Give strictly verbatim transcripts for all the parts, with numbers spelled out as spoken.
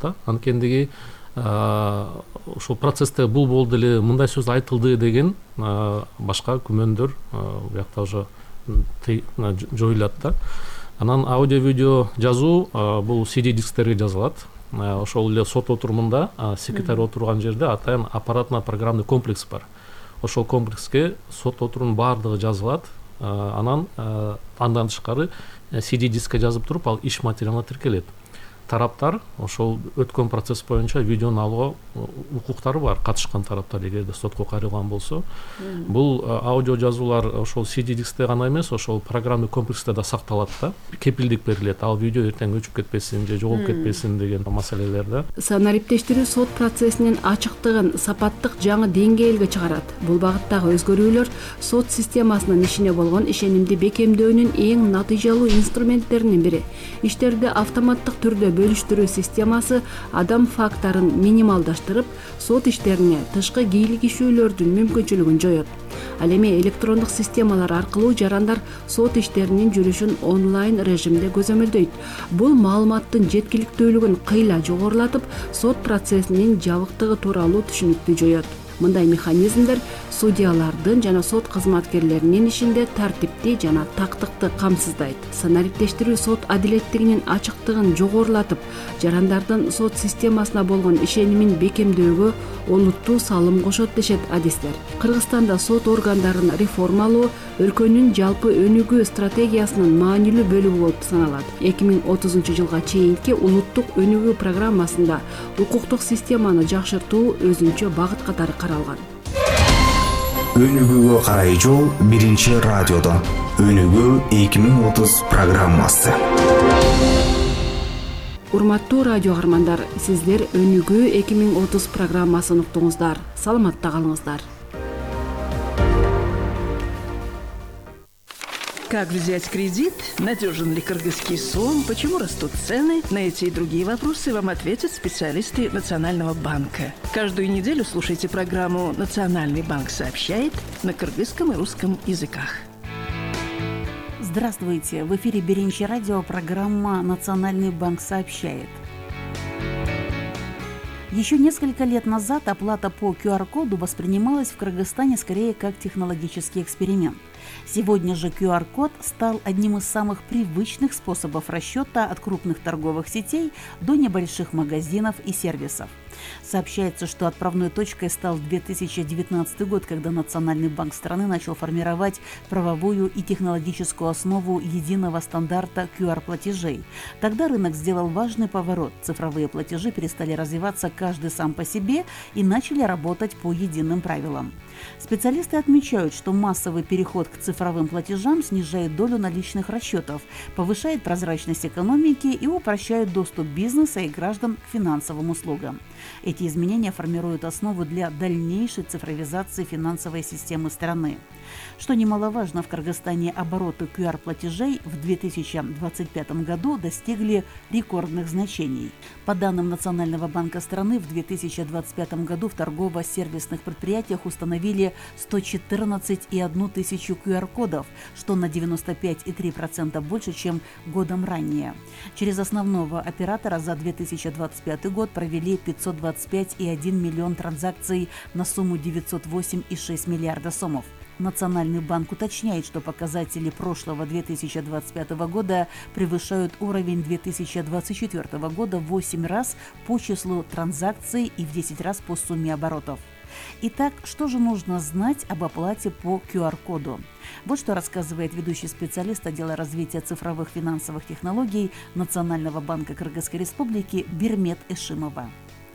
да. Анткендиги ошол процессте бул болду эле, мындай сөз айтылды деген башка күмөндөр буякта уже жоюлат да. Анан аудио видео жазуу бул си ди дисктерге жазылат. Ошол эле сот отурумунда секретарь отурган жерде атайын аппаратно программный комплекс бар. Ошол комплекске сот отурумунун баардыгы жазылат. Анан андан тышкары си ди дискке жазып туруп ал иш материалына тиркелет. Тараптар ошол өткөн процесс боюнча видеону алууга укуктары бар, катышкан тараптар эгерде сотко кайрылган болсо. Бул аудио жазуулар ошол си ди дискте гана эмес, ошол программный комплексте да сакталат да. Кепилдик берилет, ал видео эртең өчүп кетпесин же жоголуп кетпесин деген маселелер да. Санариптештирүү сот процессинин ачыктыгын, сапаттык жаңы деңгээлге чыгарат. Бул багыттагы өзгөрүүлөр сот системасынын ишине болгон ишенимди бекемдөөнүн эң натыйжалуу инструменттеринин бири. Иштерди автоматтык түрдө бөлүштүрүү системасы адам факторун минималдаштырып, сот иштерине тышкы кийлигишүүлөрдүн мүмкүнчүлүгүн жоет. Ал эми электрондук системалар аркылуу жарандар сот иштеринин жүрүшүн онлайн режимде көзөмөлдөйт. Бул маалыматтын жеткиликтүүлүгүн кыйла жогорулатып, сот процессинин жабыктыгы тууралуу түшүнүктү жоет. Мындай механизмдер судьялардын жана сот кызматкерлеринин ишинде тартипти жана тактыкты камсыздайт. Санариптештирүү сот адилеттигинин ачыктыгын жогорулатып, жарандардын сот системасына болгон ишенимин бекемдөөгө олуттуу салым кошот дешет адистер. Кыргызстанда сот органдарын реформалоо өлкөнүн жалпы өнүгүү стратегиясынын маанилүү бөлүгү болуп саналат. эки миң отузунчу жылга чейинки улуттук өнүгүү программасында укуктук системаны жакшыртуу өзүнчө багыт катары каралган. Өнүгүүгө карай жол биринчи радиодо. Өнүгүү эки миң отуз программасы. Урматтуу радио каармандар, сиздер Өнүгүү эки миң отуз программасын уктуңуздар. Саламатта калыңыздар. Как взять кредит? Надежен ли кыргызский сом? Почему растут цены? На эти и другие вопросы вам ответят специалисты Национального банка. Каждую неделю слушайте программу «Национальный банк сообщает» на кыргызском и русском языках. Здравствуйте! В эфире Биринчи радио, программа «Национальный банк сообщает». Еще несколько лет назад оплата по ку ар коду воспринималась в Кыргызстане скорее как технологический эксперимент. Сегодня же ку ар код стал одним из самых привычных способов расчета от крупных торговых сетей до небольших магазинов и сервисов. Сообщается, что отправной точкой стал две тысячи девятнадцатый год, когда Национальный банк страны начал формировать правовую и технологическую основу единого стандарта ку ар-платежей. Тогда рынок сделал важный поворот. Цифровые платежи перестали развиваться каждый сам по себе и начали работать по единым правилам. Специалисты отмечают, что массовый переход к цифровым платежам снижает долю наличных расчетов, повышает прозрачность экономики и упрощает доступ бизнеса и граждан к финансовым услугам. Эти изменения формируют основу для дальнейшей цифровизации финансовой системы страны. Что немаловажно, в Кыргызстане обороты ку ар-платежей в две тысячи двадцать пятом году достигли рекордных значений. По данным Национального банка страны, в две тысячи двадцать пятом году в торгово-сервисных предприятиях установили сто четырнадцать и одну тысячу ку ар-кодов, что на девяносто пять и три десятых процента больше, чем годом ранее. Через основного оператора за две тысячи двадцать пятый год провели пятьсот двадцать пять и один миллион транзакций на сумму девятьсот восемь и шесть миллиарда сомов. Национальный банк уточняет, что показатели прошлого две тысячи двадцать пятого года превышают уровень две тысячи двадцать четвёртого года в восемь раз по числу транзакций и в десять раз по сумме оборотов. Итак, что же нужно знать об оплате по ку ар-коду? Вот что рассказывает ведущий специалист отдела развития цифровых финансовых технологий Национального банка Кыргызской Республики Бирмет Эшимова.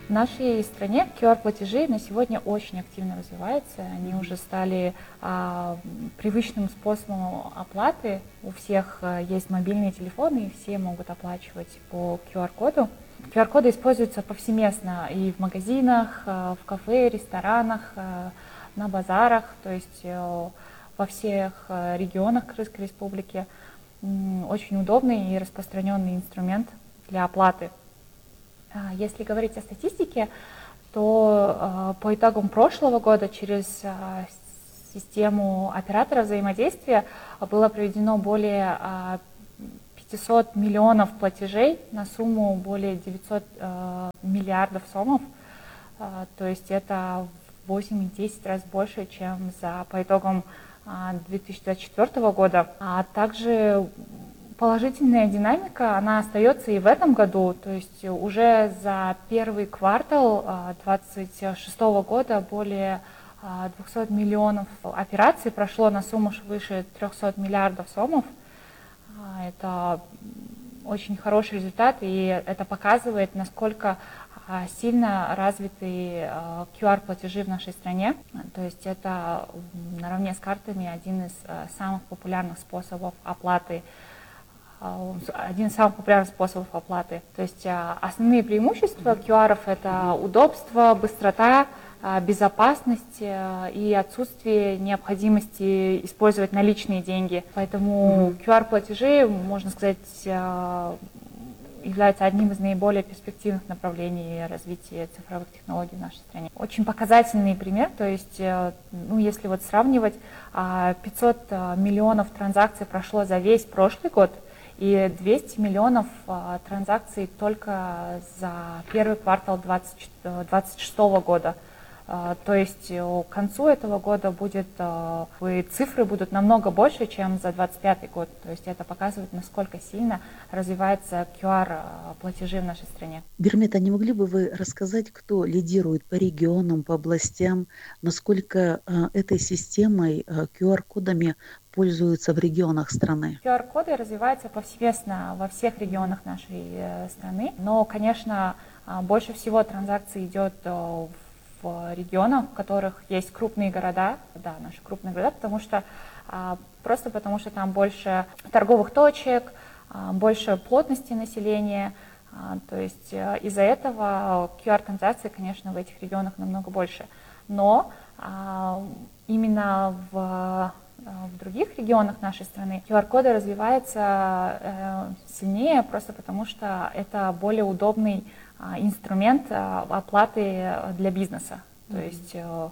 В нашей стране ку ар-платежи на сегодня очень активно развиваются. Они уже стали а, привычным способом оплаты. У всех а, есть мобильные телефоны, и все могут оплачивать по ку ар-коду. ку ар-коды используются повсеместно и в магазинах, а, в кафе, ресторанах, а, на базарах, то есть а, во всех а, регионах Кыргызской Республики. М, очень удобный и распространенный инструмент для оплаты. Если говорить о статистике, то э, по итогам прошлого года через э, систему оператора взаимодействия было проведено более э, шестисот миллионов платежей на сумму более девятисот э, миллиардов сомов. Э, то есть это в восемь-десять раз больше, чем за, по итогам э, две тысячи двадцать четвёртого года. А также положительная динамика, она остается и в этом году. То есть уже за первый квартал две тысячи двадцать шестого года более двухсот миллионов операций прошло на сумму выше трехсот миллиардов сомов. Это очень хороший результат, и это показывает, насколько сильно развиты ку ар-платежи в нашей стране. То есть это наравне с картами один из самых популярных способов оплаты, один из самых популярных способов оплаты. То есть основные преимущества ку ар — это удобство, быстрота, безопасность и отсутствие необходимости использовать наличные деньги. Поэтому ку ар-платежи, можно сказать, являются одним из наиболее перспективных направлений развития цифровых технологий в нашей стране. Очень показательный пример, то есть, ну, если вот сравнивать, пятьсот миллионов транзакций прошло за весь прошлый год, и двести миллионов а, транзакций только за первый квартал двадцать шестого года. А, то есть к концу этого года будет, а, цифры будут намного больше, чем за двадцать пятый год. То есть это показывает, насколько сильно развивается ку ар-платежи в нашей стране. Бирмет, а не могли бы вы рассказать, кто лидирует по регионам, по областям, насколько а, этой системой, а, ку ар-кодами пользуются в регионах страны? ку ар-коды развиваются повсеместно во всех регионах нашей э, страны, но, конечно, э, больше всего транзакций идет э, в регионах, в которых есть крупные города, да, наши крупные города, потому что э, просто потому что там больше торговых точек, э, больше плотности населения, э, то есть э, из-за этого ку ар-транзакции, конечно, в этих регионах намного больше. Но э, именно в В других регионах нашей страны ку ар-коды развиваются э, сильнее, просто потому что это более удобный э, инструмент э, оплаты для бизнеса. Mm-hmm. То есть э,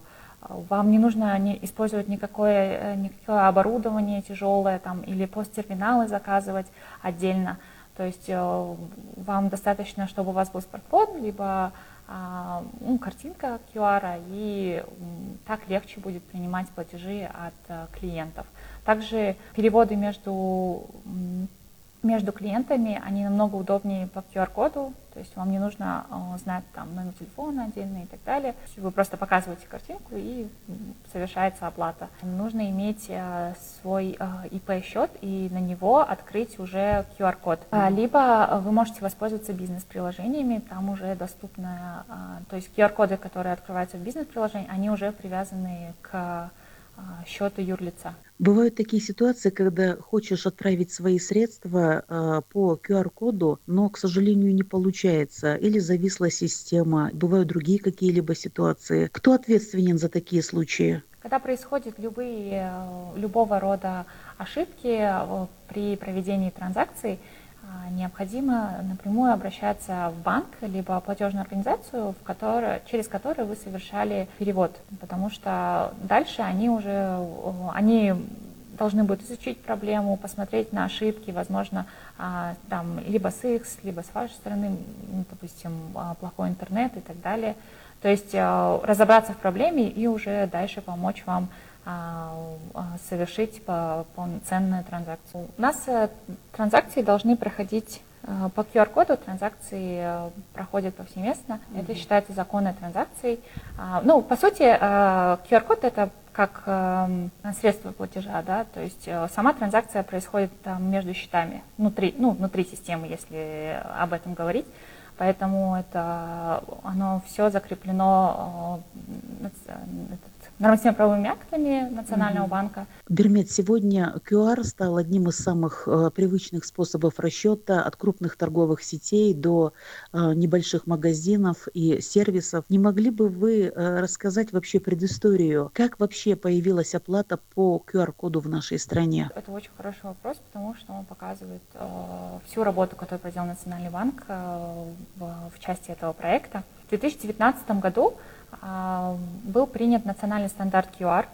вам не нужно не использовать никакое, никакое оборудование тяжелое там, или посттерминалы заказывать отдельно. То есть э, вам достаточно, чтобы у вас был смартфон, либо Ну, картинка ку ар, и так легче будет принимать платежи от клиентов. Также переводы между, между клиентами, они намного удобнее по ку ар-коду, то есть вам не нужно знать там номер телефона отдельный и так далее. Вы просто показываете картинку, и совершается оплата. Нужно иметь свой и пи-счет и на него открыть уже ку ар-код. Либо вы можете воспользоваться бизнес-приложениями, там уже доступно, то есть ку ар-коды, которые открываются в бизнес-приложении, они уже привязаны к счету юрлица. Бывают такие ситуации, когда хочешь отправить свои средства э, по ку ар-коду, но, к сожалению, не получается, или зависла система. Бывают другие какие-либо ситуации. Кто ответственен за такие случаи? Когда происходят любые, любого рода ошибки при проведении транзакций, необходимо напрямую обращаться в банк либо платежную организацию, в которой, через которую вы совершали перевод, потому что дальше они уже они должны будут изучить проблему, посмотреть на ошибки, возможно, там либо с их, либо с вашей стороны, допустим, плохой интернет и так далее. То есть разобраться в проблеме и уже дальше помочь вам совершить полноценную транзакцию. У нас транзакции должны проходить по ку ар-коду, транзакции проходят повсеместно. Mm-hmm. Это считается законной транзакцией. Ну, по сути, ку ар-код — это как средство платежа, да, то есть сама транзакция происходит там между счетами, внутри, ну, внутри системы, если об этом говорить. Поэтому это, оно все закреплено нормативно-правовыми актами Национального mm-hmm. банка. Бирмет, сегодня ку ар стал одним из самых э, привычных способов расчета от крупных торговых сетей до э, небольших магазинов и сервисов. Не могли бы вы э, рассказать вообще предысторию, как вообще появилась оплата по ку ар-коду в нашей стране? Это очень хороший вопрос, потому что он показывает э, всю работу, которую проделал Национальный банк э, в, в части этого проекта. В две тысячи девятнадцатом году был принят национальный стандарт ку ар,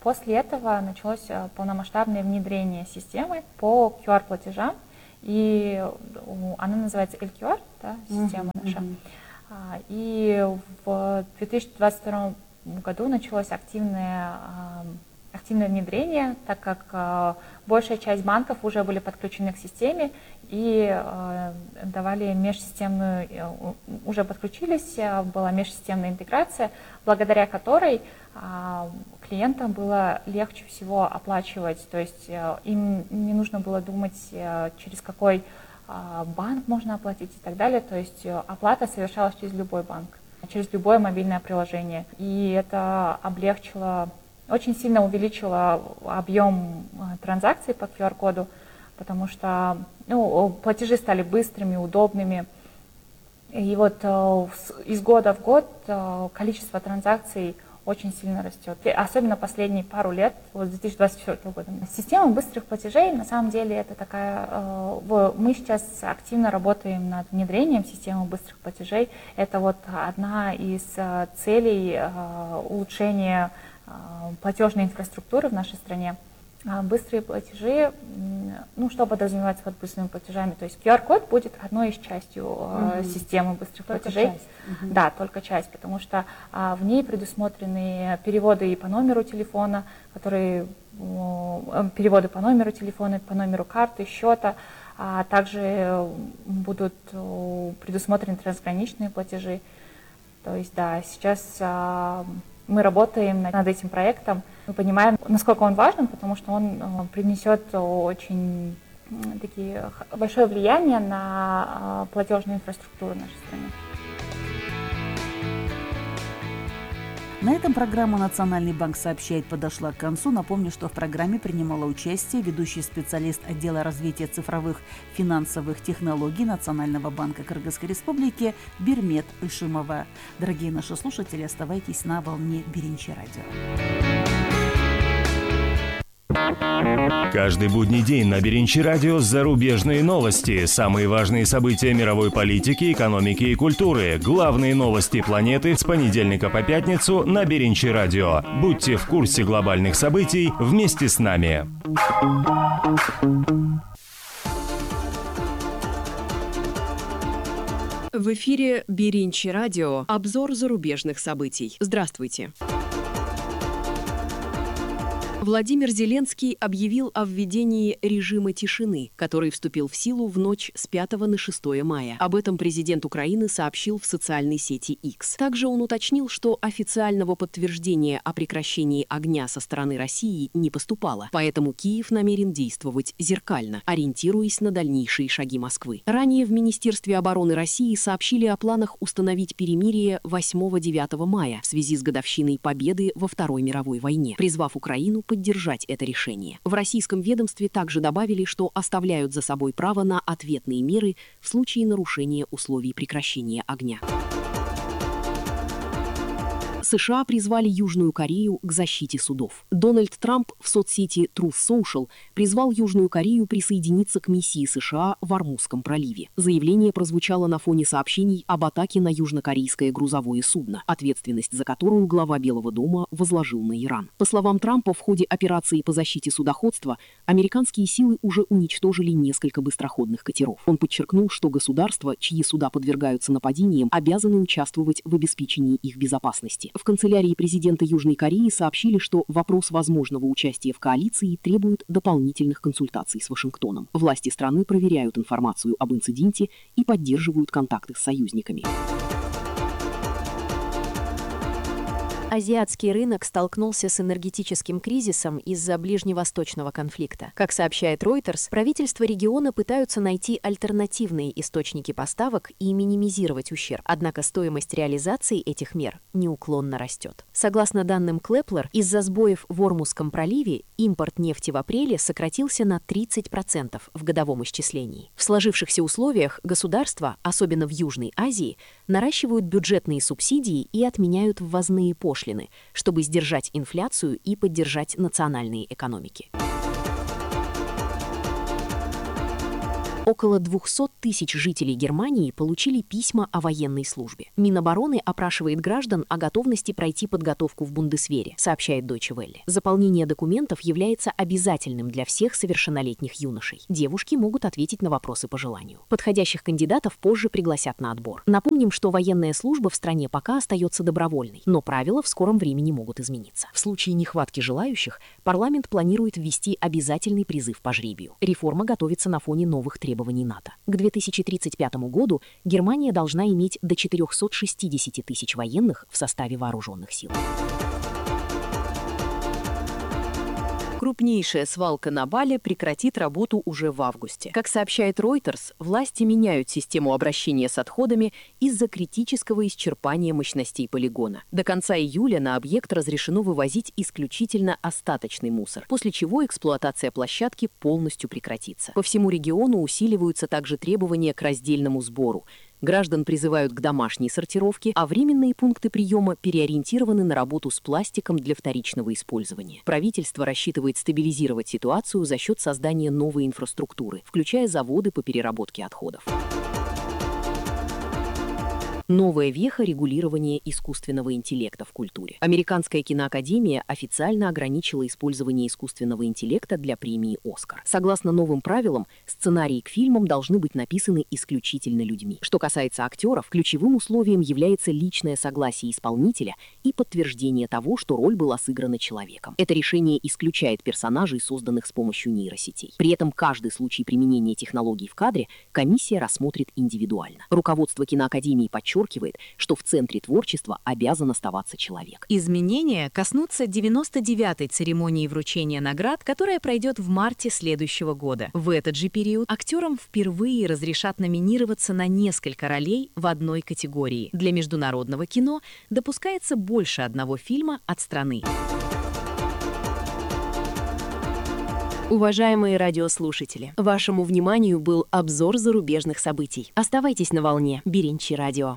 После этого началось полномасштабное внедрение системы по ку ар-платежам, и она называется эл кью ар, да, система uh-huh, наша. Uh-huh. И в две тысячи двадцать втором году началось активное, активное внедрение, так как большая часть банков уже были подключены к системе и давали межсистемную, уже подключились, была межсистемная интеграция, благодаря которой клиентам было легче всего оплачивать, то есть им не нужно было думать, через какой банк можно оплатить и так далее, то есть оплата совершалась через любой банк, через любое мобильное приложение, и это облегчило, очень сильно увеличило объем транзакций по ку ар-коду, потому что ну, платежи стали быстрыми, удобными, и вот из года в год количество транзакций очень сильно растет, особенно последние пару лет, вот с две тысячи двадцать четвёртого года. Система быстрых платежей, на самом деле, это такая, мы сейчас активно работаем над внедрением системы быстрых платежей. Это вот одна из целей улучшения платежной инфраструктуры в нашей стране. Быстрые платежи, ну, что подразумевается под быстрыми платежами? То есть ку ар-код будет одной из частью uh-huh. системы быстрых только платежей. Часть. Uh-huh. Да, только часть, потому что а, в ней предусмотрены переводы и по номеру телефона, которые э, переводы по номеру телефона, по номеру карты, счета, а также будут э, предусмотрены трансграничные платежи. То есть, да, сейчас э, мы работаем над этим проектом. Мы понимаем, насколько он важен, потому что он принесет очень такие, большое влияние на платежную инфраструктуру нашей страны. На этом программа «Национальный банк сообщает» подошла к концу. Напомню, что в программе принимала участие ведущий специалист отдела развития цифровых финансовых технологий Национального банка Кыргызской Республики Бирмет Ишимова. Дорогие наши слушатели, оставайтесь на волне Биринчи радио. Каждый будний день на Биринчи радио зарубежные новости, самые важные события мировой политики, экономики и культуры, главные новости планеты с понедельника по пятницу на Биринчи радио. Будьте в курсе глобальных событий вместе с нами. В эфире Биринчи радио. Обзор зарубежных событий. Здравствуйте. Владимир Зеленский объявил о введении режима тишины, который вступил в силу в ночь с пятого на шестое мая. Об этом президент Украины сообщил в социальной сети X. Также он уточнил, что официального подтверждения о прекращении огня со стороны России не поступало, поэтому Киев намерен действовать зеркально, ориентируясь на дальнейшие шаги Москвы. Ранее в Министерстве обороны России сообщили о планах установить перемирие восьмого-девятого мая в связи с годовщиной победы во Второй мировой войне, призвав Украину поддержать это решение. В российском ведомстве также добавили, что оставляют за собой право на ответные меры в случае нарушения условий прекращения огня. США призвали Южную Корею к защите судов. Дональд Трамп в соцсети Truth Social призвал Южную Корею присоединиться к миссии США в Ормузском проливе. Заявление прозвучало на фоне сообщений об атаке на южнокорейское грузовое судно, ответственность за которую глава Белого дома возложил на Иран. По словам Трампа, в ходе операции по защите судоходства американские силы уже уничтожили несколько быстроходных катеров. Он подчеркнул, что государства, чьи суда подвергаются нападениям, обязаны участвовать в обеспечении их безопасности. В канцелярии президента Южной Кореи сообщили, что вопрос возможного участия в коалиции требует дополнительных консультаций с Вашингтоном. Власти страны проверяют информацию об инциденте и поддерживают контакты с союзниками. Азиатский рынок столкнулся с энергетическим кризисом из-за ближневосточного конфликта. Как сообщает Reuters, правительства региона пытаются найти альтернативные источники поставок и минимизировать ущерб. Однако стоимость реализации этих мер неуклонно растет. Согласно данным Клэплер, из-за сбоев в Ормузском проливе импорт нефти в апреле сократился на тридцать процентов в годовом исчислении. В сложившихся условиях государства, особенно в Южной Азии, наращивают бюджетные субсидии и отменяют ввозные пошлины, чтобы сдержать инфляцию и поддержать национальные экономики. Около двухсот тысяч жителей Германии получили письма о военной службе. Минобороны опрашивает граждан о готовности пройти подготовку в Бундесвере, сообщает Deutsche Welle. Заполнение документов является обязательным для всех совершеннолетних юношей. Девушки могут ответить на вопросы по желанию. Подходящих кандидатов позже пригласят на отбор. Напомним, что военная служба в стране пока остается добровольной, но правила в скором времени могут измениться. В случае нехватки желающих, парламент планирует ввести обязательный призыв по жребию. Реформа готовится на фоне новых требований НАТО. К две тысячи тридцать пятому году Германия должна иметь до четырёхсот шестидесяти тысяч военных в составе вооруженных сил. Крупнейшая свалка на Бале прекратит работу уже в августе. Как сообщает Reuters, власти меняют систему обращения с отходами из-за критического исчерпания мощностей полигона. До конца июля на объект разрешено вывозить исключительно остаточный мусор, после чего эксплуатация площадки полностью прекратится. По всему региону усиливаются также требования к раздельному сбору. Граждан призывают к домашней сортировке, а временные пункты приема переориентированы на работу с пластиком для вторичного использования. Правительство рассчитывает стабилизировать ситуацию за счет создания новой инфраструктуры, включая заводы по переработке отходов. Новая веха регулирования искусственного интеллекта в культуре. Американская киноакадемия официально ограничила использование искусственного интеллекта для премии «Оскар». Согласно новым правилам, сценарии к фильмам должны быть написаны исключительно людьми. Что касается актеров, ключевым условием является личное согласие исполнителя и подтверждение того, что роль была сыграна человеком. Это решение исключает персонажей, созданных с помощью нейросетей. При этом каждый случай применения технологий в кадре комиссия рассмотрит индивидуально. Руководство киноакадемии подчеркивает, подчеркивает, что в центре творчества обязан оставаться человек. Изменения коснутся девяносто девятой церемонии вручения наград, которая пройдет в марте следующего года. В этот же период актерам впервые разрешат номинироваться на несколько ролей в одной категории. Для международного кино допускается больше одного фильма от страны. Уважаемые радиослушатели, вашему вниманию был обзор зарубежных событий. Оставайтесь на волне Биринчи радио.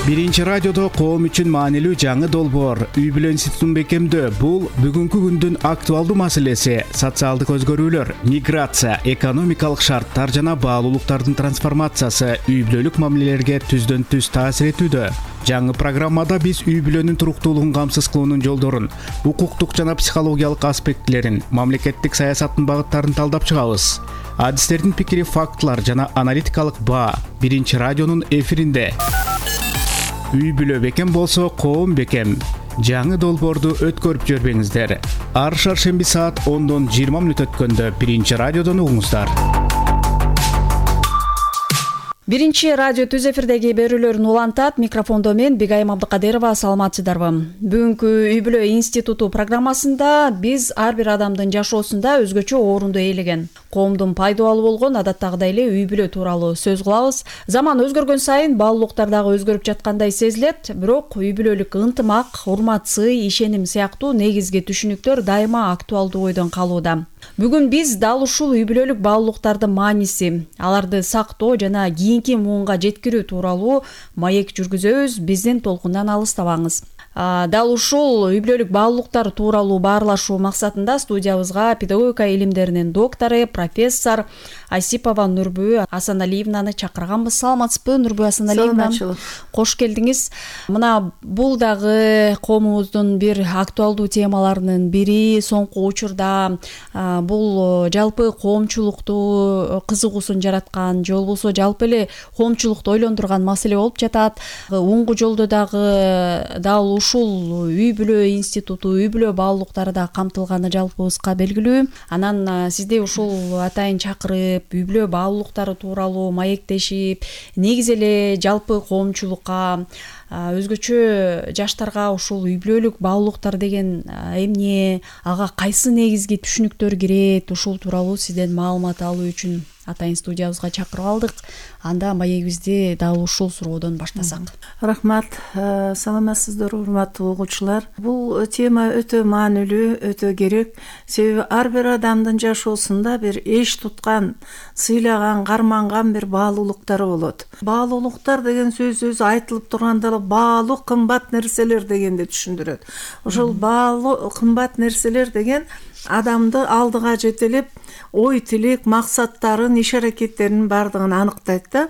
Биринчи радиодо коом үчүн маанилүү жаңы долбоор үй бүлө институтун бекемдөө. Бул бүгүнкү күндүн актуалдуу маселеси. Социалдык өзгөрүүлөр, миграция, экономикалык шарттар жана баалуулуктардын трансформациясы үй бүлөлүк мамилелерге түздөн түз таасир этүүдө. Жаңы программада биз үй бүлөнүн туруктуулугун камсыз кылуунун жолдорун, укуктук жана психологиялык аспектилерин, мамлекеттик саясаттын багыттарын талдап чыгабыз. Адистердин пикири, фактылар жана аналитикалык баа Биринчи радионун эфиринде. Үй бүлө бекем болсо, коом бекем. Жаңы долбоорду өткөрүп жүрбөңүздөр. Ар шаршемби саат ондон жыйырма мүнөт өткөндө Биринчи радиодон угуңуздар. Биринчи радио түз эфирдеги берүүлөрүн улантат. Микрофондо мен Бигайым Абдыкадырова. Саламатсыздарбы? Бүгүнкү үй бүлө институту программасында биз ар бир адамдын жашоосунда өзгөчө орунду ээлеген, коомдун пайдалуу болгон адаттагыдай эле үй бүлө тууралуу сөз кылабыз. Заман өзгөргөн сайын баалуулуктар дагы өзгөрүп жаткандай сезилет, бирок үй бүлөлүк ынтымак, урмат, сый, ишеним сыяктуу негизги түшүнүктөр дайыма актуалдуу ойдон калууда. Бүгүн биз дал ушул үй бүлөлүк баалуулуктардын мааниси, аларды сактоо жана кийинки муунга жеткирүү тууралуу маек жүргүзөбүз. Биздин толкундан алыстабаңыз. Дал ушул үй бүлөлүк баалуулуктар тууралуу баарлашуу максатында студиябызга педагогика илимдеринин доктору, профессор Осипова Нурбү Асаналиевнаны чакырганбыз. Саламатсызбы, Нурбү Асаналиевна? Кош келдиңиз. Мына бул дагы коомубуздун бир актуалдуу темаларынын бири. Соңку учурда бул жалпы коомчулукту кызыгуусун жараткан, же болбосо жалпы эле коомчулукту ойлондурган маселе болуп жатат. Оңгу жолдо дагы дал ушул үй бүлө институту, үй бүлө баалуулуктары да камтылганы жалпыбызга белгилүү. Анан сизди ушул атайын чакырып, үй бүлө баалуулуктары тууралуу маектешип, негизи эле жалпы коомчулукка, өзгөчө жаштарга ушул үй бүлөлүк баалуулуктар деген эмне, ага кайсы негизги түшүнүктөр кирет, ушул тууралуу сизден маалымат алуу үчүн атайын студиябызга чакырып алдык. Анда маегибизди дал ушул суроодон баштасак. Рахмат, саламатсыздарбы урматтуу угуучулар. Бул тема өтө маанилүү, өтө керек. Себеби ар бир адамдын жашоосунда бир эч туткан, сыйлаган, карманган бир баалуулуктары болот. Баалуулуктар деген сөз өзү айтылып турганда баалуу кымбат нерселер дегенди түшүндүрөт. Ошол баалуу кымбат нерселер деген адамды алдыга жетелеп, ой тилек, максаттарын, иш аракеттеринин бардыгын аныктайт да.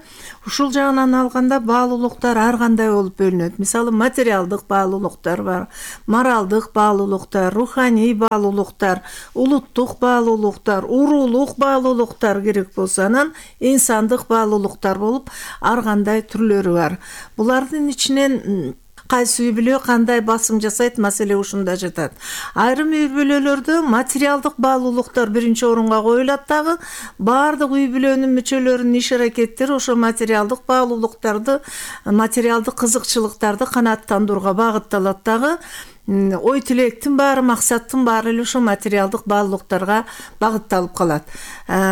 Ушул жагынан алганда баалуулуктар ар кандай болуп бөлүнөт. Мисалы, материалдык баалуулуктар бар, моралдык баалуулуктар, руханий баалуулуктар, улуттук баалуулуктар, уруулук баалуулуктар керек болсо, анан инсандык баалуулуктар болуп ар кандай түрлөрү бар. Булардын ичинен кайсы үй бүлө кандай басым жасайт, маселе ушунда жатат. Айрым үй бүлөлөрдө материалдык баалуулуктар биринчи орунга коюлат дагы, баардык үй бүлөнүн мүчөлөрүнүн иш аракеттери ошо материалдык баалуулуктарды, материалдык кызыкчылыктарды канааттандырууга багытталат дагы. Ой тилектин баары, максаттын баары эле ошо материалдык баалуулуктарга багытталып калат.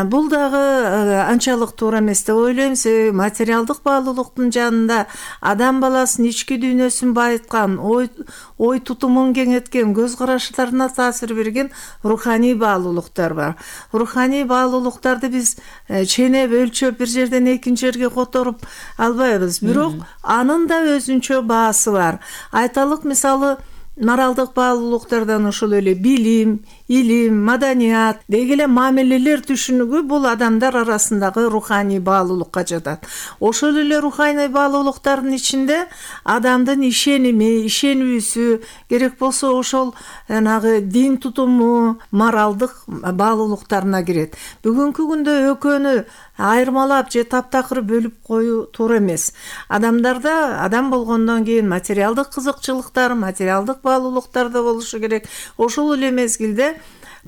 Бул дагы анчалык туура эмес деп ойлойм. Себеби материалдык баалуулуктун жанында адам баласынын ички дүйнөсүн байыткан, ой ой тутумун кеңейткен, көз караштарына таасир берген руханий баалуулуктар бар. Руханий баалуулуктарды биз ченеп, өлчөп, бир жерден экинчи жерге которуп албайбыз. Бирок анын да өзүнчө баасы бар. Айталык, мисалы, моралдык баалуулуктардан ошол эле билим, илим, маданият, деги эле мамилелер түшүнүгү бул адамдар арасындагы руханий баалуулукка жатат. Ошол эле руханий баалуулуктардын ичинде адамдын ишеними, ишенүүсү, керек болсо ошол анагы дин тутуму, моралдык баалуулуктарына кирет. Бүгүнкү күндө экөөнү айырмалап же таптакыр бөлүп коюу туура эмес. Адамдарда адам болгондон кийин материалдык кызыкчылыктар, материалдык баалуулуктар да болушу керек. Ошол эле мезгилде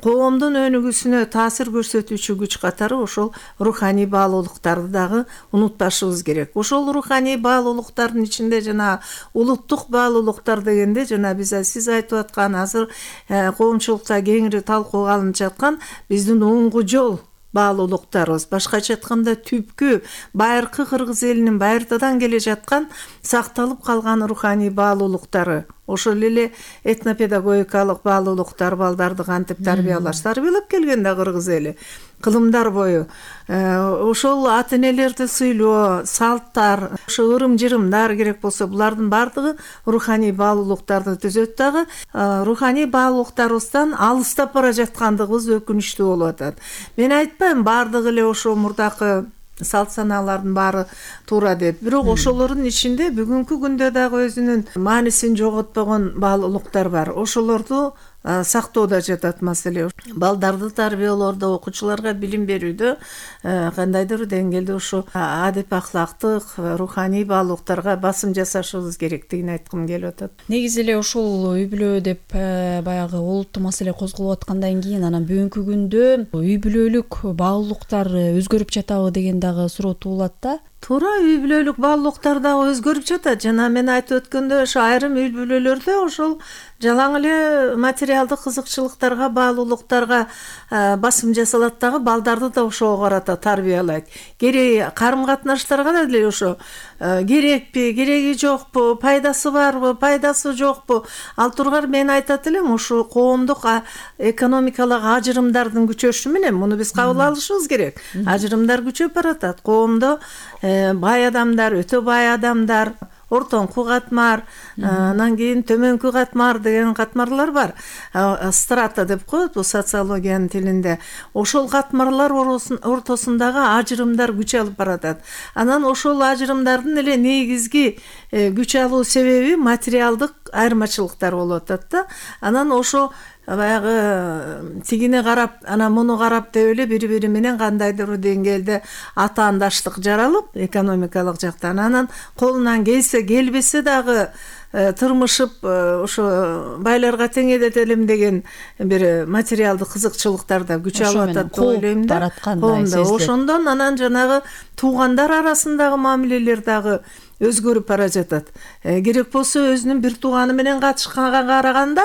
коомдун өнүгүүсүнө таасир көрсөтүүчү күч катары ошол руханий баалуулуктарды дагы унутпашыбыз керек. Ошол руханий баалуулуктардын ичинде жана улуттук баалуулуктар дегенде жана биз сиз айтып аткан азыр коомчулукта кеңири талкууга алынып жаткан биздин оңгу жол баалуулуктарыбыз, башкача айтканда түпкү байыркы кыргыз элинин байыртадан келе жаткан сакталып калган руханий баалуулуктары, ошол эле этнопедагогикалык баалуулуктар, балдарды кантип тарбиялаш, тарбиялап келген да кыргыз эли кылымдар бою. Ошол ата энелерди сыйлоо, салттар, ошо ырым-жырымдар керек болсо, булардын бардыгы руханий баалуулуктарды түзөт дагы. Руханий баалуулуктарыбыздан алыстап бара жаткандыгыбыз өкүнүчтүү болуп атат. Мен айтпайм бардыгы эле ошо мурдакы салт санаалардын баары туура деп. Бирок ошолордун ичинде бүгүнкү күндө дагы өзүнүн маанисин жоготпогон баалуулуктар бар. Ошолорду сактоодо жатат маселе. Балдарды тарбиялоодо, окуучуларга билим берүүдө кандайдыр деңгээлде ошо адеп ахлактык, руханий баалуулуктарга басым жасашыбыз керектигин айткым келип атат. Негизи эле ушул үй бүлө деп баягы олуттуу маселе козголуп аткандан кийин анан бүгүнкү күндө үй бүлөлүк баалуулуктар өзгөрүп жатабы деген дагы суроо туулат да. Туура, үй бүлөлүк баалуулуктар дагы өзгөрүп жатат. Жана мен айтып өткөндө ошо айрым үй бүлөлөрдө ошол жалаң эле материалдык кызыкчылыктарга, баалуулуктарга басым жасалат дагы, балдарды да ошого карата тарбиялайт. Керек карым катнаштарга да деле ошо керекпи, кереги жокпу, пайдасы барбы, пайдасы жокпу. Ал тургар мен айтат элем, ошо коомдук экономикалык ажырымдардын күчөшү менен муну биз кабыл алышыбыз керек. Ажырымдар күчөп баратат. Коомдо бай адамдар, өтө бай адамдар, ортоңку катмар, анан кийин төмөнкү катмар деген катмарлар бар. Страта деп коет бул социологиянын тилинде. Ошол катмарлар ортосундагы ажырымдар күч алып баратат. Анан ошол ажырымдардын эле негизги күч алуу себеби материалдык айырмачылыктар болуп атат да. Анан ошо баягы тигине карап, анан муну карап деп эле бири-бири менен кандайдыр деңгээлде атаандаштык жаралып, экономикалык жактан анан колунан келсе, келбесе дагы тырмышып ошо байларга тең эдетелим деген бир материалдык кызыкчылыктар да күч алып атат деп ойлойм да. Ошондон анан жанагы туугандар арасындагы мамилелер дагы өзгөрүп бара жатат. Керек болсо өзүнүн бир тууганы менен катышканга караганда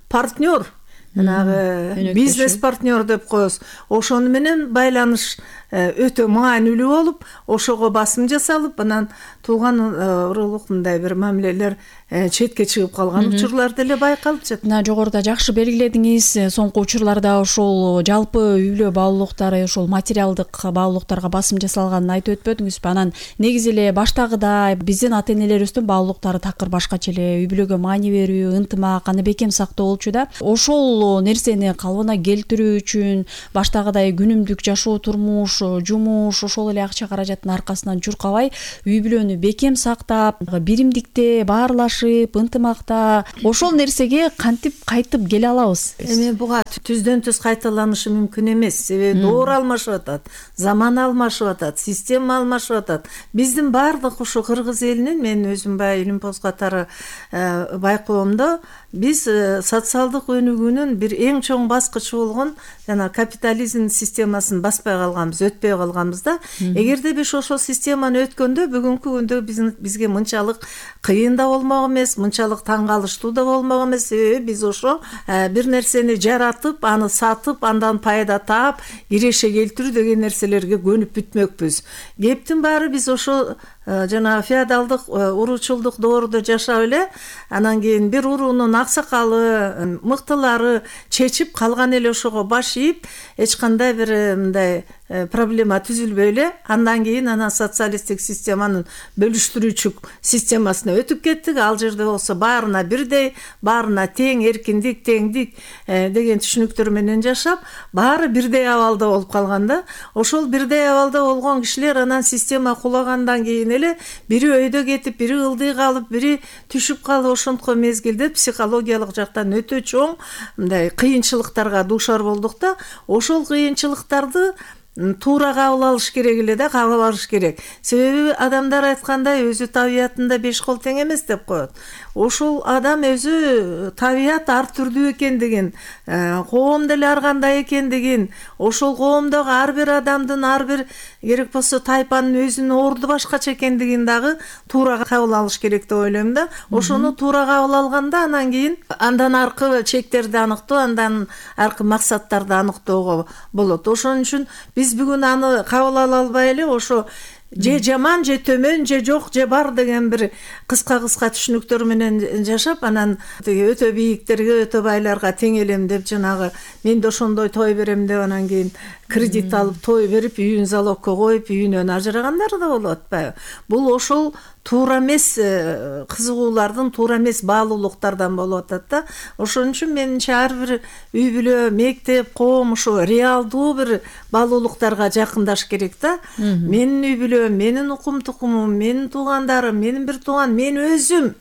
партнер жанагы бизнес партнер деп коебуз, ошону менен байланыш өтө маанилүү болуп, ошого басым жасалып, анан тууган уруулук мындай бир мамилелер четке чыгып калган учурлар деле байкалып жатат. Мына жогоруда жакшы белгиледиңиз, соңку учурларда ошол жалпы үй бүлө баалуулуктары, ошол материалдык баалуулуктарга басым жасалганын айтып өтпөдүңүзбү? Анан негизи эле баштагыдай биздин ата-энелерибиздин баалуулуктары такыр башкача эле, үй бүлөгө маани берүү, ынтымак, аны бекем сактоо болчу да. Ошол нерсени калыбына келтирүү үчүн баштагыдай күнүмдүк жашоо, турмуш, жумуш, ошол эле акча каражаттын аркасынан чуркабай, үй бүлөнү бекем сактап, биримдикте баарлашып, ынтымакта ошол нерсеге кантип кайтып келе алабыз? Эми буга түздөн түз кайталанышы мүмкүн эмес. Себеби доор алмашып атат, заман алмашып атат, система алмашып атат. Биздин баардык ушу кыргыз элинин, мен өзүм баягы Илимпоз катары байкоомдо, биз социалдык өнүгүүнүн бир эң чоң баскычы болгон жана капитализм системасын баспай калганбыз, өтпөй калганбыз да. Эгерде биз ошол системаны өткөндө бүгүнкү күндө бизге мынчалык кыйын да болмок эмес, мынчалык таң калыштуу да болмок эмес. Себеби биз ошо бир нерсени жаратып, аны сатып, андан пайда таап, киреше келтирүү деген нерселерге көнүп бүтмөкпүз. Кептин баары биз ошо жана феодалдык, уруучулдук доорудо жашап эле, анан кийин бир уруунун аксакалы, мыктылары чечип калган эле ошого баш ийип, эч кандай бир мындай проблема түзүлбөй эле, андан кийин анан социалисттик системанын бөлүштүрүүчү системасына өтүп кеттик. Ал жерде болсо баарына бирдей, баарына тең, эркиндик, теңдик деген түшүнүктөр менен жашап, баары бирдей абалда болуп калган да. Ошол бирдей абалда болгон кишилер анан система кулагандан кийин эле бири өйдө кетип, бири ылдый калып, бири түшүп калып, ошонтко мезгилде психологиялык жактан өтө чоң мындай кыйынчылыктарга дуушар болдук да. Ошол кыйынчылыктарды туура кабыл алыш керек эле да, кабыл алыш керек. Себеби адамдар айткандай, өзү табиятында беш кол тең эмес деп коет. Ошол адам өзү табият ар түрдүү экендигин, коом деле ар кандай экендигин, ошол коомдогу ар бир адамдын, ар бир керек болсо тайпанын өзүнүн орду башкача экендигин дагы туура кабыл алыш керек деп ойлойм да. Ошону туура кабыл алганда анан кийин андан аркы чектерди аныктоо, андан аркы максаттарды аныктоого болот. Ошон үчүн биз бүгүн аны кабыл ала албай эле ошо же жаман, же төмөн, же жок, же бар деген бир кыска-кыска түшүнүктөр менен жашап, анан өтө бийиктерге, өтө байларга тең элем деп, жанагы мен да ошондой той берем деп, анан кийин кредит алып той берип, үйүн залогко коюп, үйүнөн ажырагандар да болуп атпайбы? Бул ошол туура эмес кызыгуулардын, туура эмес баалуулуктардан болуп атат да. Ошон үчүн менимче ар бир үй бүлө, мектеп, коом ошо реалдуу бир баалуулуктарга жакындаш керек да. Менин үй бүлөм, менин укум тукумум, менин туугандарым, менин бир тууган, мен өзүм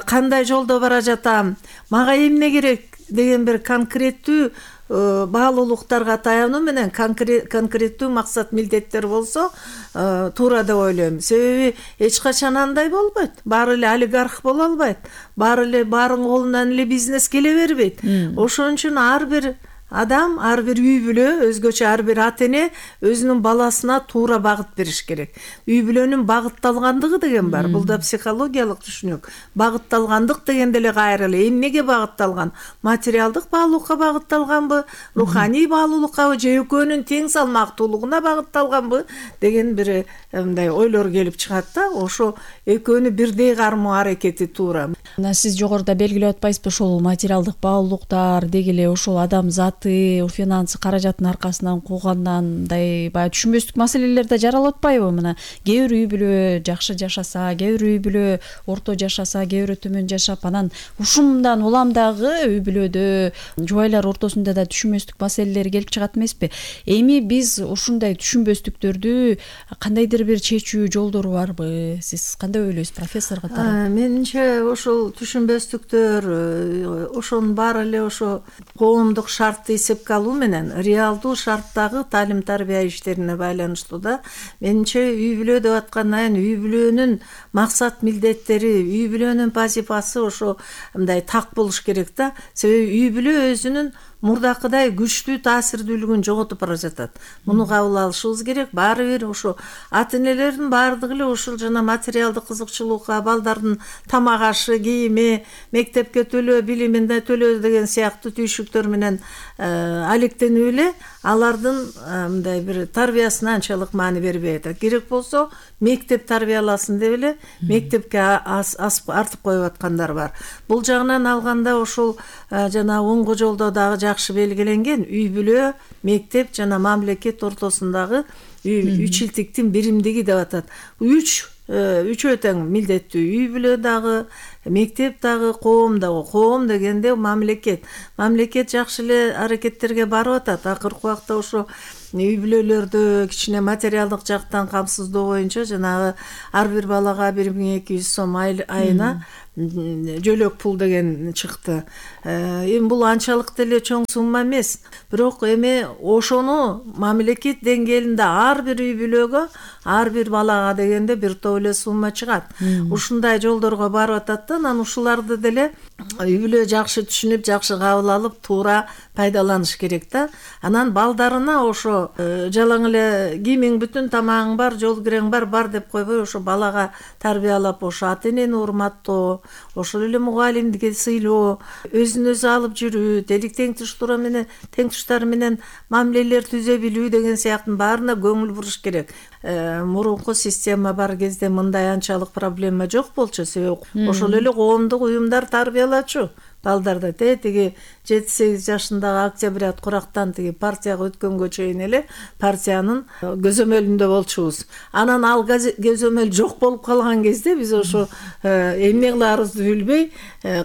кандай жолдо бара жатам, мага эмне керек деген бир конкреттүү баалуулуктарга таянуу менен конкреттүү максат, милдеттер болсо туура деп ойлойм. Себеби эч качан андай болбойт. Баары эле олигарх боло албайт. Баары эле баарынын колунан эле бизнес келе бербейт. Ошон үчүн ар бир адам, ар бир үй бүлө, өзгөчө ар бир ата-эне өзүнүн баласына туура багыт бериш керек. Үй бүлөнүн багытталгандыгы деген бар. Бул да психологиялык түшүнүк. Багытталгандык деген деле кайра эле эмнеге багытталган? Материалдык баалуулукка багытталганбы, руханий баалуулуккабы, же экөөнүн тең салмактуулугуна багытталганбы деген бир мындай ойлор келип чыгат да. Ошо экөөнү бирдей кармоо аракети туура. Мына сиз жогоруда белгилеп атпайсызбы, ошол материалдык баалуулуктар деги эле ошол адам заты, финансы, каражаттын аркасынан куугандан мындай баягы түшүнбөстүк маселелер да жаралып атпайбы? Мына кээ бир үй бүлө жакшы жашаса, кээ бир үй бүлө орто жашаса, кээ бирөө төмөн жашап, анан ушундан улам дагы үй бүлөдө жубайлар ортосунда да түшүнбөстүк маселелер келип чыгат эмеспи? Эми биз ушундай түшүнбөстүктөрдү кандайдыр бир чечүү жолдору барбы? Сиз кандай ойлойсуз, профессор катары? Менимче ошол түшүнбөстүктөр ошонун баары эле ошо коомдук шартты эсепке алуу менен реалдуу шарттагы таалим тарбия иштерине байланыштуу да. Менимче үй бүлө деп аткандан кийин үй бүлөнүн максат, милдеттери, үй бүлөнүн вазифасы ошо мындай так болуш керек да. Себеби үй бүлө өзүнүн мурдакыдай күчтүү таасирдүүлүгүн жоготуп бара жатат. Муну кабыл алышыбыз керек. Баары бир ошо ата энелердин баардыгы эле ушул жана материалдык кызыкчылыкка, балдардын тамак ашы, кийими, мектепке төлөө, билимине төлөө деген сыяктуу түйшүктөр менен алектенип эле алардын мындай бир тарбиясына анчалык маани бербей атат. Керек болсо мектеп тарбияласын деп эле мектепке артып коюп аткандар бар. Бул жагынан алганда ошол жана оңго жолдо дагы жакшы белгиленген үй бүлө, мектеп жана мамлекет ортосундагы үч илтиктин биримдиги деп атат. Үч үчөө тең милдеттүү: үй бүлө дагы, мектеп дагы, коом дагы. Коом дегенде мамлекет. Мамлекет жакшы эле аракеттерге барып атат. Акыркы убакта ошо үй бүлөлөрдү кичине материалдык жактан камсыздоо боюнча жанагы ар бир балага бир миң эки жүз сом айына жөлөк пул деген чыкты. Эми бул анчалык деле чоң сумма эмес. Бирок эми ошону мамлекет деңгээлинде ар бир үй бүлөгө, ар бир балага дегенде бир топ эле сумма чыгат. Ушундай жолдорго барып атат да, анан ушуларды деле үй бүлө жакшы түшүнүп, жакшы кабыл алып, туура пайдаланыш керек да. Анан балдарына ошо жалаң эле кийимиң бүтүн, тамагың бар, жол кирең бар, бар деп койбой, ошо балага тарбиялап, ошо ата энени урматтоо, ошол эле мугалимдикке сыйлоо, өзүн өзү алып жүрүү, тейлик тең туштары менен тең туштары менен мамилелер түзө билүү деген сыяктын баарына көңүл буруш керек. Мурунку система бар кезде мындай анчалык проблема жок болчу, себеби ошол эле коомдук уюмдар тарбиялачу балдарды. Те тиги жети сегиз жашындагы Октябрят Курактан тиги партияга өткөнгө чейин эле партиянын көзөмөлүндө болчубуз. Анан ал көзөмөл жок болуп калган кезде биз ошо эмне кылаарыбызды билбей,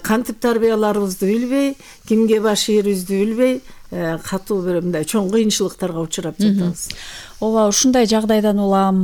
кантип тарбияларыбызды билбей, кимге баш ийэрибизди билбей, катуу бир мындай чоң кыйынчылыктарга учурап жатабыз. Ооба, ушундай жагдайдан улам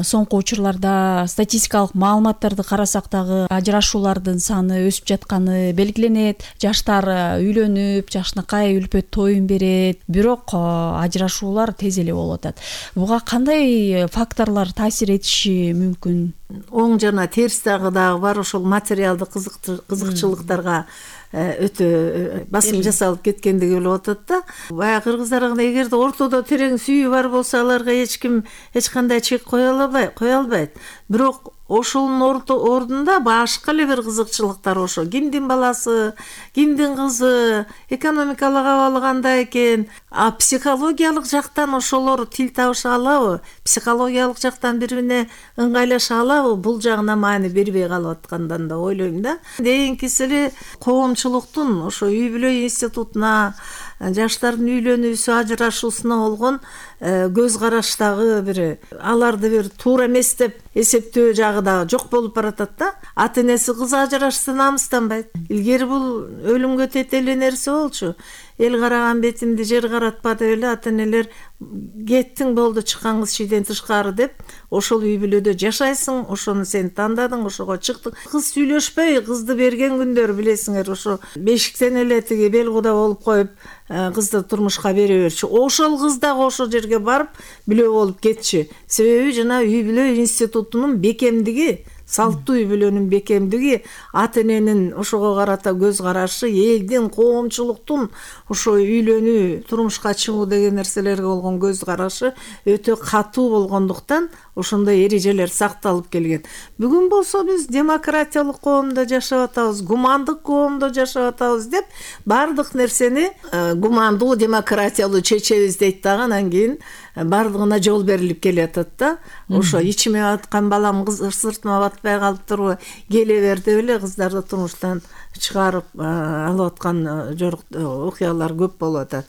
соңку учурларда статистикалык маалыматтарды карасак дагы ажырашуулардын саны өсүп жатканы белгиленет. Жаштар үйлөнүп, жакшынакай үлпөт тоюн берет, бирок ажырашуулар тез эле болуп атат. Буга кандай факторлор таасир этиши мүмкүн? Оң жана терс дагы дагы бар. Ошол материалдык кызыкчылыктарга өтө басым жасалып кеткендиги болуп атат да. Баягы кыргыздарга эгерде ортодо терең сүйүү бар болсо, аларга эч ким эч кандай чек кое албайт, кое албайт. Бирок ошонун ордунда башка эле бир кызыкчылыктар, ошо кимдин баласы, кимдин кызы, экономикалык абалы кандай экен, а психологиялык жактан ошолор тил табыша алабы, психологиялык жактан бири бирине ыңгайлаша алабы, бул жагына маани бербей калып аткандан да ойлойм да. Кийинкиси эле коомчулуктун ошо үй бүлө институтуна, жаштардын үйлөнүүсү, ажырашуусуна болгон көз караштагы бир аларды бир туура эмес деп эсептөө жагы да жок болуп баратат да. Ата энеси кыз ажырашса намыстанбайт. Илгери бул өлүмгө тетеле нерсе болчу. Эл караган бетимди жер каратпа деп эле ата энелер кеттиң болду, чыккан кыз шийден тышкары деп ошол үй бүлөдө жашайсың, ошону сен тандадың, ошого чыктың. Кыз сүйлөшпөй кызды берген күндөр билесиңер, ошо бешиктен эле тиги бел куда болуп коюп кызды турмушка бере берчү. Ошол кыз дагы ошол жерге барып билөө болуп кетчү. Себеби жана үй бүлө институтунун бекемдиги, салттуу үй бүлөнүн бекемдиги, ата эненин ошого карата көз карашы, элдин, коомчулуктун ошо үйлөнүү, турмушка чыгуу деген нерселерге болгон көз карашы өтө катуу болгондуктан ошондой эрежелер сакталып келген. Бүгүн болсо биз демократиялык коомдо жашап атабыз, гумандык коомдо жашап атабыз деп бардык нерсени гумандуу, демократиялуу чечебиз дейт дагы, анан кийин бардыгына жол берилип келатат да. Ошо ичиме аткан балам кыз сыртыма батпай калыптырбы, келе бер деп эле кыздарды турмуштан чыгарып алып аткан жорук окуялар көп болуп атат.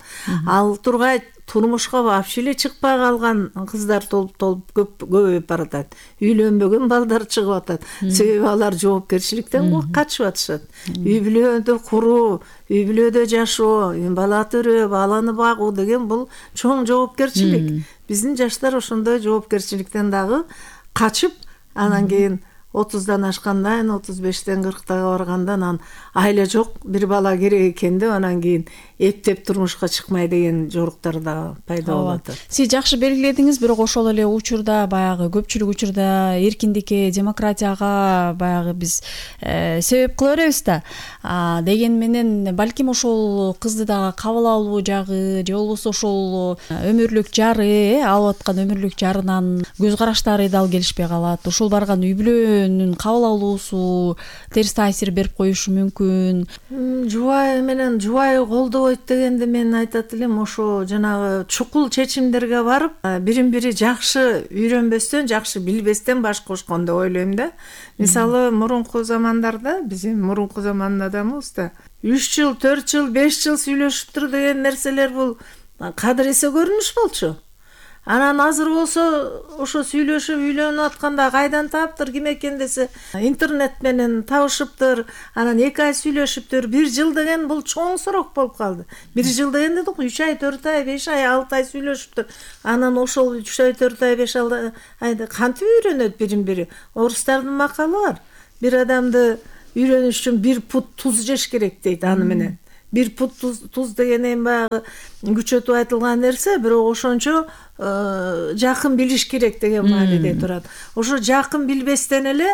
Ал тургай турмушка вообще эле чыкпай калган кыздар толуп толуп көп көбөйүп баратат. Үйлөнбөгөн балдар чыгып атат. Себеби алар жоопкерчиликтен качып атышат. Үй бүлөдө куруу, үй бүлөдө жашоо, бала төрөө, баланы багуу деген бул чоң жоопкерчилик. Биздин жаштар ошондой жоопкерчиликтен дагы качып, анан кийин отуздан ашкандан, отуз бештен кырктага баргандан анан айла жок, бир бала керек экен деп анан кийин эптеп турмушка чыкмай деген жоруктар да пайда болуп атат. Сиз жакшы белгиледиңиз, бирок ошол эле учурда баягы көпчүлүк учурда эркиндикке, демократияга баягы биз себеп кыла беребиз да. Деген менен балким ошол кызды дагы кабыл алуу жагы же болбосо ошол өмүрлүк жары, алып аткан өмүрлүк жарынан көз караштары дал келишпей калат. Ошол барган үй бүлөнүн кабыл алуусу терс таасир берип коюшу мүмкүн. Жубайы менен жубайы колдобойт дегенде мен айтат элем, ошо жанагы чукул чечимдерге барып, бирин бири жакшы үйрөнбөстөн, жакшы билбестен баш кошкон деп ойлойм да. Мисалы, мурунку замандарда, биздин мурунку замандын адамыбыз да үч жыл, төрт жыл, беш жыл сүйлөшүптүр деген нерселер бул кадыр эсе көрүнүш болчу. Анан азыр болсо ошо сүйлөшүп үйлөнүп атканда кайдан таптыр, ким экен десе, интернет менен табышыптыр, анан эки ай сүйлөшүптүр. Бир жыл деген бул чоң срок болуп калды. Бир жыл деген дедик, үч ай, төрт ай, беш ай, алты ай сүйлөшүптүр. Анан ошол үч ай, төрт ай, беш айда кантип үйрөнөт бирин бири? Орустардын макалы бар. Бир адамды үйрөнүш үчүн бир пут туз жеш керек дейт аны менен. Бир пут туз, туз деген эми баягы күчөтүп айтылган нерсе, бирок ошончо жакын билиш керек деген мааниде турат. Ошо жакын билбестен эле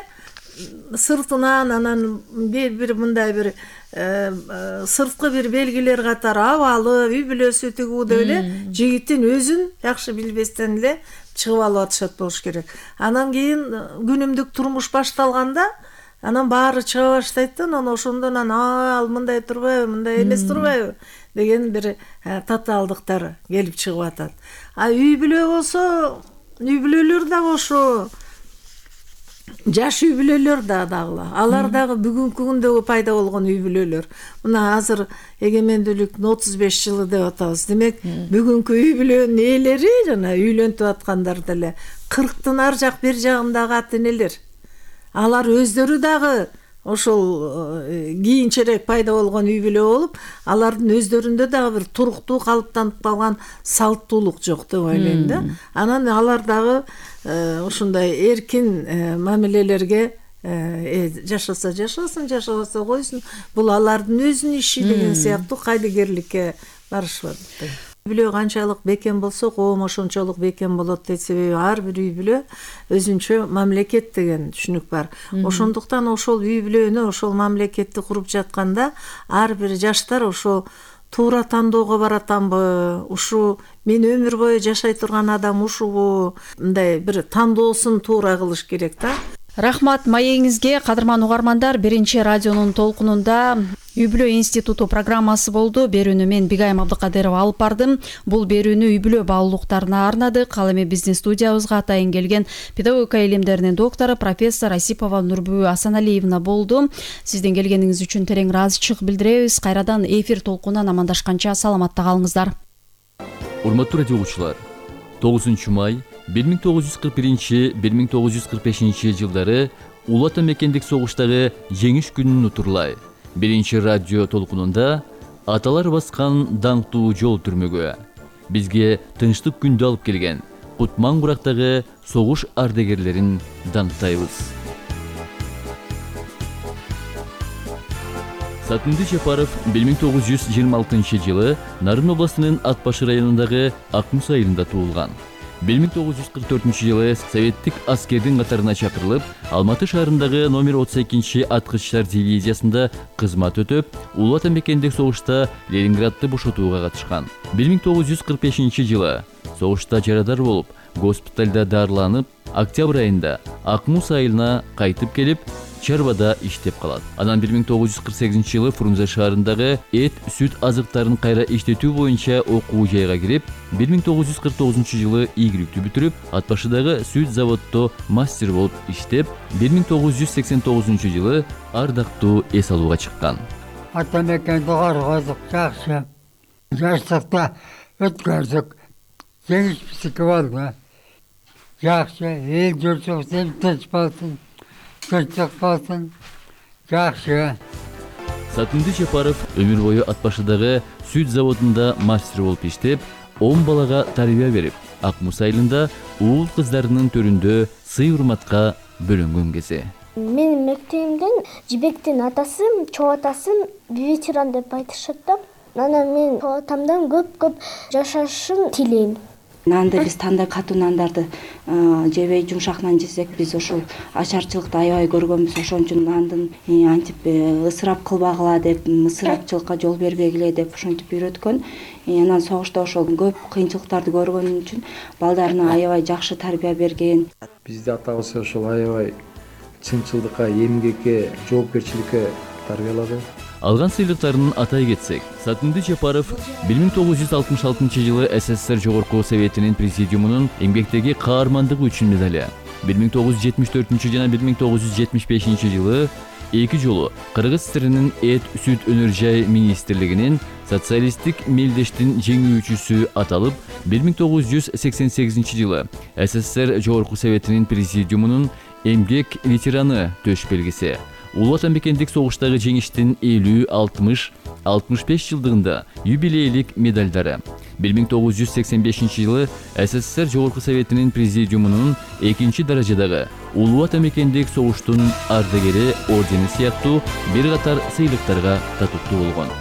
сыртынан анан бир мындай бир сырткы бир белгилер катары абалы, үй бүлөсү тигүү деп эле жигиттин өзүн жакшы билбестен эле чыгып алып атышат болуш керек. Анан кийин күнүмдүк турмуш башталганда анан баары чыга баштайт да, анан ошондон анан ал мындай турбайбы, мындай эмес турбайбы деген бир татаалдыктар келип чыгып атат. А үй бүлө болсо, үй бүлөлөр дагы ошо жаш үй бүлөлөр да дагы. Алар дагы бүгүнкү күндөгү пайда болгон үй бүлөлөр. Мына азыр эгемендүүлүктүн отуз беш жылы деп атабыз. Демек, бүгүнкү үй бүлөнүн ээлери жана үйлөнүп аткандар деле кырктын ар жак бир жагындагы ата-энелер. Алар өздөрү дагы ошол кийинчерээк пайда болгон үй бүлө болуп, алардын өздөрүндө дагы бир туруктуу калыптанып калган салттуулук жок деп ойлойм да. Анан алар дагы ушундай эркин мамилелерге жашаса жашасын, жашабаса койсун, бул алардын өзүнүн иши деген сыяктуу кайдыгерликке барышат. Үй бүлө канчалык бекем болсо, коом ошончолук бекем болот дейт. Себеби ар бир үй бүлө өзүнчө мамлекет деген түшүнүк бар. Ошондуктан ошол үй бүлөнү, ошол мамлекетти куруп жатканда ар бир жаштар ошол туура тандоого баратамбы, ушу мен өмүр бою жашай турган адам ушубу, мындай бир тандоосун туура кылыш керек да. Рахмат маегиңизге, кадырман угармандар. Биринчи радионун толкунунда Үй бүлө институту программасы болду. Берүүнү мен Бигайым Абдыкадырова алып бардым. Бул берүүнү үй бүлө баалуулуктарына арнадык. Ал эми биздин студиябызга атайын келген педагогика илимдеринин доктору профессор Асипова Нурбү Асаналиевна болду. Сиздин келгениңиз үчүн терең ыраазычылык билдиребиз. Кайрадан эфир толкунунан амандашканча саламатта калыңыздар. Урматтуу радио угуучулар, тогузунчу май бир миң тогуз жүз кырк биринчи — бир миң тогуз жүз кырк бешинчи жылдары Улуу Ата Мекендик согуштагы жеңиш күнүн утурлай. Биринчи радио толкунунда аталар баскан даңктуу жол түрмөгү бизге тынчтык күндү алып келген Кутман курактагы согуш ардагерлерин даңктайбыз. Сатынды Жапаров бир миң тогуз жүз жыйырма алтынчы жылы Нарын областынын Ат Башы районундагы Акмус айылында туулган. бир миң тогуз жүз кырк төртүнчү жылы советтик аскердин катарына чакырылып, Алматы шаарындагы номер отуз экинчи аткычтар дивизиясында кызмат өтөп, Улуу Ата Мекендик согушта Ленинградты бошотууга катышкан. бир миң тогуз жүз кырк бешинчи жылы согушта жарадар болуп, госпиталда дарыланып, октябрь айында Акмус айылына кайтып келип, чарбада иштеп калат. Анан бир миң тогуз жүз кырк сегизинчи жылы Фрунзе шаарындагы эт, сүт азыктарын кайра иштетүү боюнча окуу жайга кирип, бир миң тогуз жүз кырк тогузунчу жылы ийгиликтүү бүтүрүп, Ат Башыдагы сүт заводдо мастер болуп иштеп, бир миң тогуз жүз сексен тогузунчу жылы ардактуу эс алууга чыккан. Ата Мекенди коргодук, жакшы. Жаштыкта өткөрдүк. Жеңиш биздики болду. Жакшы, эл журтубуз тынч болсун. Тынчтык болсун. Жакшы. Сатынды Жапаров өмүр бою Ат Башыдагы сүт заводунда мастер болуп иштеп, он балага тарбия берип, Акмус айылында уул кыздарынын төрүндө сый-урматка бөлөнгөн кези. Менин мектебимден Жибектин атасы, чоо атасын ветеран деп айтышат да. анан мен атамдан көп көп жашашын тилейм. Нанды биз тандап катуу нандарды жебей жумшак нан жесек, биз ошол ачарчылыкты аябай көргөнбүз. Ошон үчүн нандын антип ысырап кылбагыла деп, ысырапчылыкка жол бербегиле деп ошентип үйрөткөн. Анан согушта ошол көп кыйынчылыктарды көргөн үчүн балдарына аябай жакшы тарбия берген. Бизде атабыз ошол аябай чынчылдыкка, эмгекке, жоопкерчиликке тарбиялады. Алган сыйлыктарын атай кетсек, Сатынды Жапаров бир миң тогуз жүз алтымыш алтынчы жылы СССР Жогорку Советинин президиумунун эмгектеги каармандыгы үчүн медали, бир миң тогуз жүз жетимиш төртүнчү жана бир миң тогуз жүз жетимиш бешинчи жылы эки жолу Кыргыз ССРинин Эт Сүт Өнөр жай министрлигинин социалисттик мелдештин жеңүүчүсү аталып, бир миң тогуз жүз сексен сегизинчи жылы СССР Жогорку Советинин президиумунун эмгек ветераны төш белгиси, Улуу Ватан мекендик согуштагы жеңиштин элүү, алтымыш, алтымыш беш жылдыгында юбилейлик медалдары, бир миң тогуз жүз сексен бешинчи жылы СССР Жогорку Советинин президиумунун экинчи даражадагы Улуу Ватан мекендик согуштун ардагери ордени сыяктуу бир катар сыйлыктарга татыктуу болгон.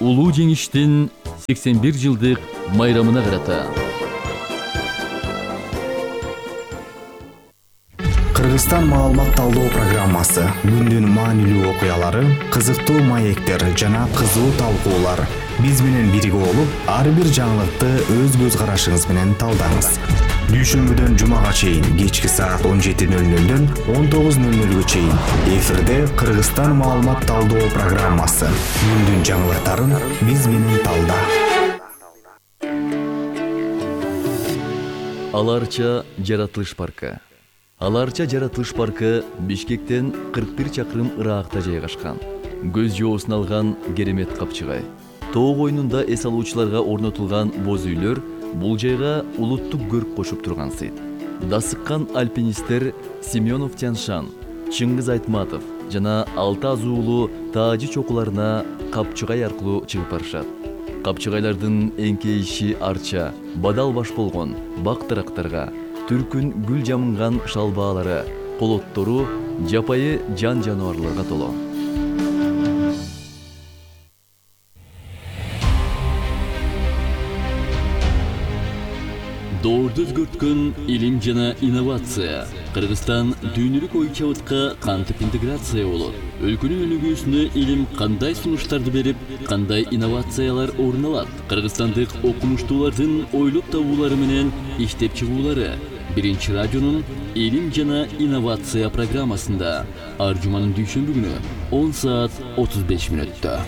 Улуу жеңиштин сексен бир жылдык майрамына карата Кыргызстан маалымат талдоо программасы, күндүн маанилүү окуялары, кызыктуу маектер жана кызуу талкуулар. Биз менен бирге болуп, ар бир жаңылыкты өз көз карашыңыз менен талдаңыз. Дүйшөмбүдөн жумага чейин кечки саат он жети нөл нөлдөн он тогуз нөл нөлгө чейин эфирде Кыргызстан маалымат талдоо программасы. Күндүн жаңылыктарын биз менен талда. Аларча жаратылыш паркы. Аларча жаратылыш паркы Бишкектен кырк бир чакырым ыракта жайгашкан. Көз жоосун алган керемет капчыгай. Тоо койнунда эс алуучуларга орнотулган боз үйлөр бул жайга улуттук көрк кошуп турган сыйт. Дасыккан альпинисттер Семенов Тяншан, Чыңгыз Айтматов жана алты азуулуу таажы чокуларына капчыгай аркылуу чыгып барышат. Капчыгайлардын эңкейиши арча, бадал баш болгон бак-дарактарга, түркүн гүл жамынган шалбаалары, колоттору жапайы жан жануарларга толо. Доорду өзгөрткөн илим жана инновация. Кыргызстан дүйнөлүк ой чабытка кантип интеграция болот? Өлкөнүн өнүгүүсүнө илим кандай сунуштарды берип, кандай инновациялар орун алат? Кыргызстандык окумуштуулардын ойлоп табуулары менен иштеп чыгуулары Биринчи радионун илим жана инновация программасында ар жуманын дүйшөмбү күнү он саат отуз беш мүнөттө.